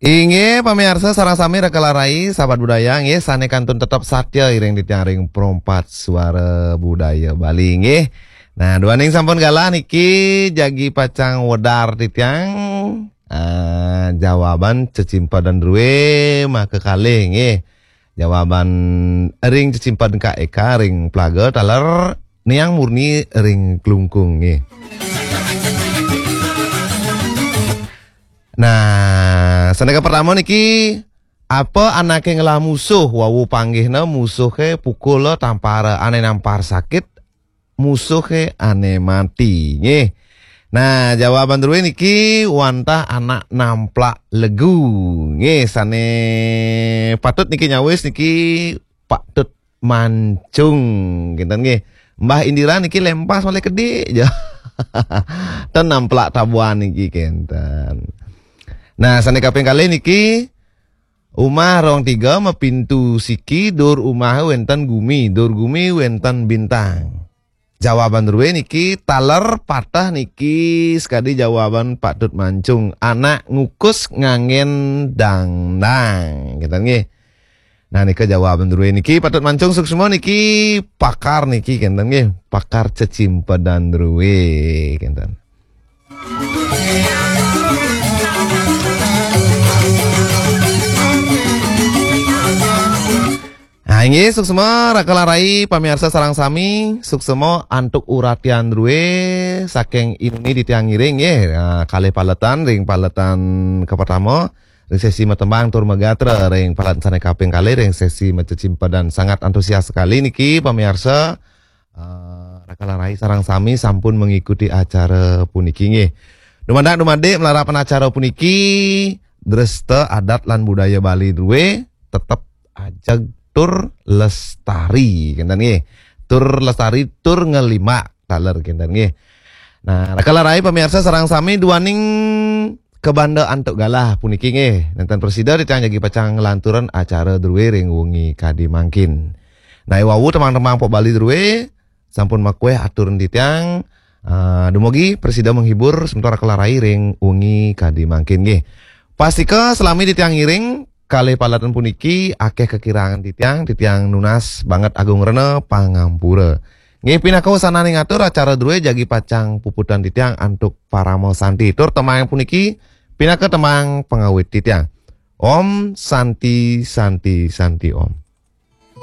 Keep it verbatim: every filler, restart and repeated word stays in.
Inggih, pamiarsa sareng sami raka lan rai, sahabat budaya, nggih, sane kantun tetep satya iring titiang ring Pro empat Suara Budaya Bali, nggih. Nah, duaning sampun galah niki jagi pacang wedar titiang, ah, jawaban cecimpedan druwe maka kalih, nggih. Jawaban ring cecimpedan Kak Eka ring Plaga taler Niang Murni ring Klungkung, nggih. Nah, sandika pertama niki, apa anake ngelah musuh, wau panggihna musuhe pukula tampara, ane nampar sakit, musuhe ane mati, nggih. Nah, jawaban druwe niki wantah anak namplak legu, nggih, sane patut niki nyawis niki Pak Tut Mancung, kenten nggih. Mbah Indira niki lempas malih kedi, ja. Ten namplak tabuan niki kenten. Nah, sane kaping kalih niki, umah rong tiga mapintu siki, dur umah wenten gumi, dur gumi wenten bintang. Jawaban druwe niki taler patah niki, sekadi jawaban Pak Tut Mancung, anak ngukus nganggen dangdang, kenten nggih. Nah, nika jawaban druwe niki Pak Tut Mancung, suksma niki, pakar niki kenten nggih, pakar cecimpedan druwe kenten. Nah, inggih, suksma raka lan rai pamiarsa sareng sami, suksma antuk uratian druwe saking inuni titiang ngiring nggih. Nah, kalih paletan, ring paletan kapertama ring sesi matembang tur magatra, ring paletan sane kaping kalih ring sesi macecimpedan. Sangat antusias sekali niki pamiarsa, eh, raka lan rai sareng sami sampun mengikuti acara puniki nggih. Dumadak dumadik malarapan acara puniki, dresta adat lan budaya Bali druwe tetep ajeg tur lestari, kenten nggih. Tur lestari, tur ngelimak taler, kenten nggih. Nah, raka lan rai pamiarsa sareng sami, duaning kabanda antuk galah puniki nggih, nenten prasida titiang jagi pacang nglanturang acara druwe ring wengi kadi mangkin. Nah, wau tembang-tembang pop Bali druwe sampun makueh aturan titiang, eh, dumugi prasida menghibur semeton raka lan rai ring wengi kadi mangkin nggih. Pastika selami titiang ngiring kalih paletan puniki akeh kakirangan titiang, titiang nunas banget agung rena pangampura. Nggih, pinaka wasananing atur, acara druwe jagi pacang puputang titiang antuk parama santi. Tur tembang puniki pinaka tembang pangawit titiang. Om Santi, Santi, Santi Om.